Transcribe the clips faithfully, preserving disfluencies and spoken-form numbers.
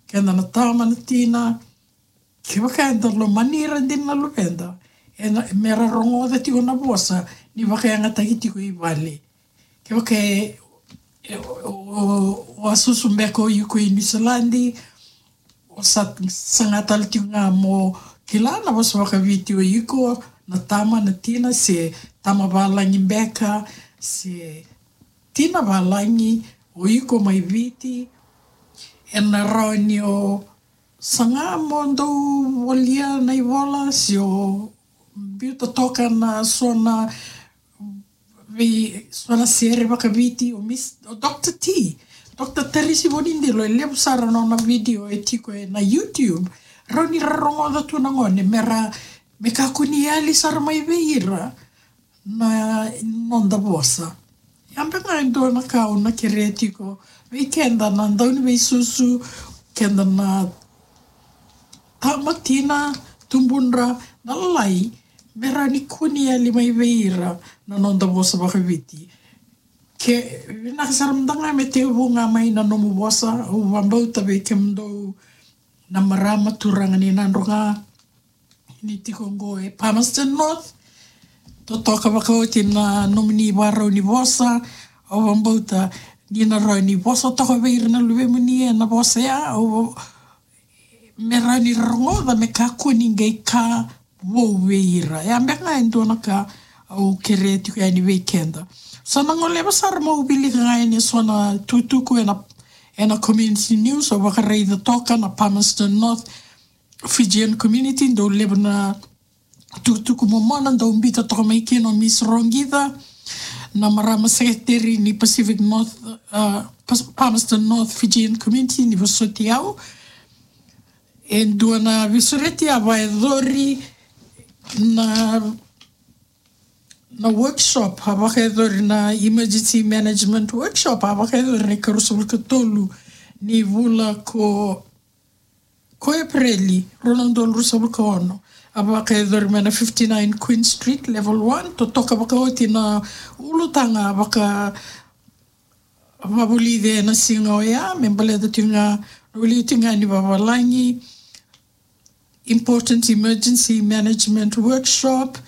keda na tama na tina, kevaka eda lomani ira dina na luveda, ena, mera rogoca tiko na vosa ni vakayagataki tiko i vale. Kevaka e, e, o, o, o a susu beka o iko i Niusiladi, o sa, saga tale tiko ga mo kila na vosa vakaViti o iko, na tama na tina, se tama valagi beka, se tina valagi o iko mai Viti, ena rawa ni o saga mo dau volia na ivola, se o biuta toka na so na vei, so na sere vakaViti, o Miss, o Doctor T, Doctor Tarisi Vonidilo, e levu sara na nona video e tiko ena YouTube. Rawa ni ra rogoca tu na gone, mera, me kakua ni yali sara mai vei ira na noda vosa. Ya beka ga e dua na ka au na kerea tiko vei keda na dauniveisusu, keda na tama, tina, tubudra, na lalai, mera ni kua ni yali mai vei ira na noda vosa vakaViti. Ke vinaka sara mada ga me tekivu ga mai na nomu vosa, au vakabauta vei kemudou na marama, turaga ni Nadroga, ni tiko qo e Palmerston North, totoka vakaoti na nomuni ivakarau ni vosa, au vakabauta ni na rawa ni vosa toka vei ira na luvemuni ena vosa ya, au, me rawa ni ra rogoca me kakua ni qai ka vou vei ira. Ya beka ga e dua na ka au kerea tiko yani vei keda. Sa na goleva sara meu wilika ga yani e so na tukutuku ena, ena community news, au vakaraica toka na Palmerston North Fijian community, dau levu na tukutuku momona dau biuta toka mai kina o Miss Rogica, na marama secretary ni Pacific North, uh, Pas-, Palmerston North Fijian community, ni vosoti au. E dua na veisureti a vakayacori na, na workshop, a vakayacori na emergency management workshop, a vakayacori na ikaruasagavulu ka tolu ni vula ko, ko Epereli, rua na udolu ruasagavulu ka ono. A vakayacori mai na fifty-nine Queen Street, level one, totoka vakaoti na ulutaga vaka, vakavulici ena siga oya, me baleta tiko ga, wilika tiko ga ni vavalagi, important emergency management workshop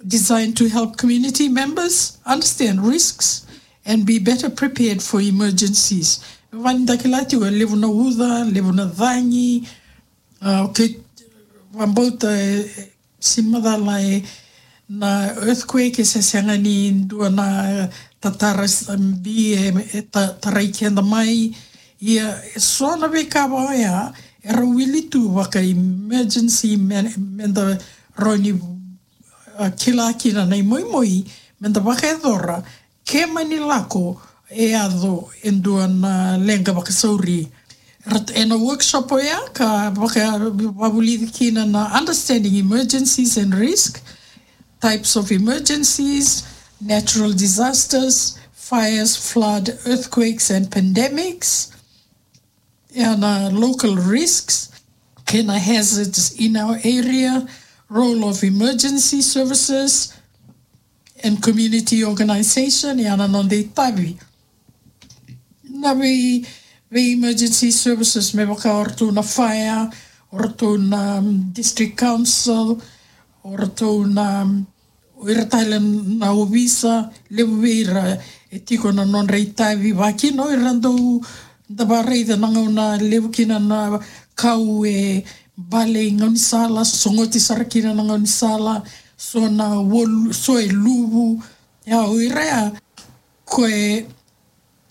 designed to help community members understand risks and be better prepared for emergencies. Vani da kila tiko e levu na uca, levu na cagi, ah, okay, vakabauta, eh, sini macala e na earthquake e se sega ni dua na tatara s-, bi e, e ta-, tarai keda mai. Ia, e so na veika vaka oya, era wili tu vaka emergency me, meda rawa ni, ah, kila kina na imoimoi, meda vakayacora, ke mani lako e yaco e dua na leqa vakasauri. Rat-, ena workshop oya ka vaka, vakavulici kina na understanding emergencies and risk, types of emergencies, natural disasters, fires, flood, earthquakes and pandemics, and, uh, local risks, kei na hazards in our area, role of emergency services and community organization, ia na noda itavi na vei, vei emergency services, me vaka o ratou na fire, o ratou na, um, district council, o ratou na, um, o ira tale na ovisa, levu vei ira e tiko na nodra itavi, vaka kina o ira dau da vakaraica na gauna levu kina na kau e bale i gaunisala, sogoti sara kina na gaunisala, so na wolu, so e luvu. Ia, o ira ya ko e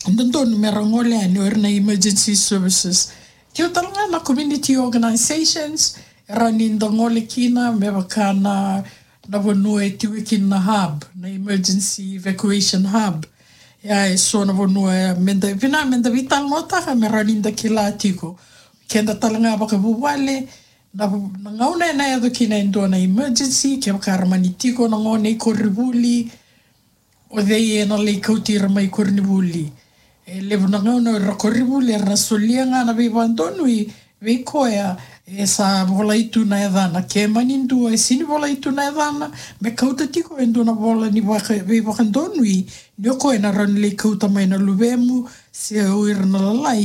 dodonu mera gole yani o ira na emergency services. Keu tale ga na community organizations, e rawa ni da gole kina me vaka na, na vanua e tiko kina na hub, na emergency evacuation hub. Ia, e so na vanua, e, meda, vinaka meda veitalanoataka me rawa ni da kila tiko. Keda tale ga vakavuvale, na, na gauna ena yaco kina e dua na emergency, kevaka era mani tiko na gone i koronivuli, o cei ena lai kauti ira mai koronivuli. E levu na gauna o ira koronivuli era na solia ga na veivakadonui vei koya e sa volai tu na yacana. Ke mani dua e sini volai tu na yacana, me kauta tiko e dua na vola ni vaka, veivakadonui, ni o koya ena rawa ni lai kauta mai na luvemu se o ira na lalai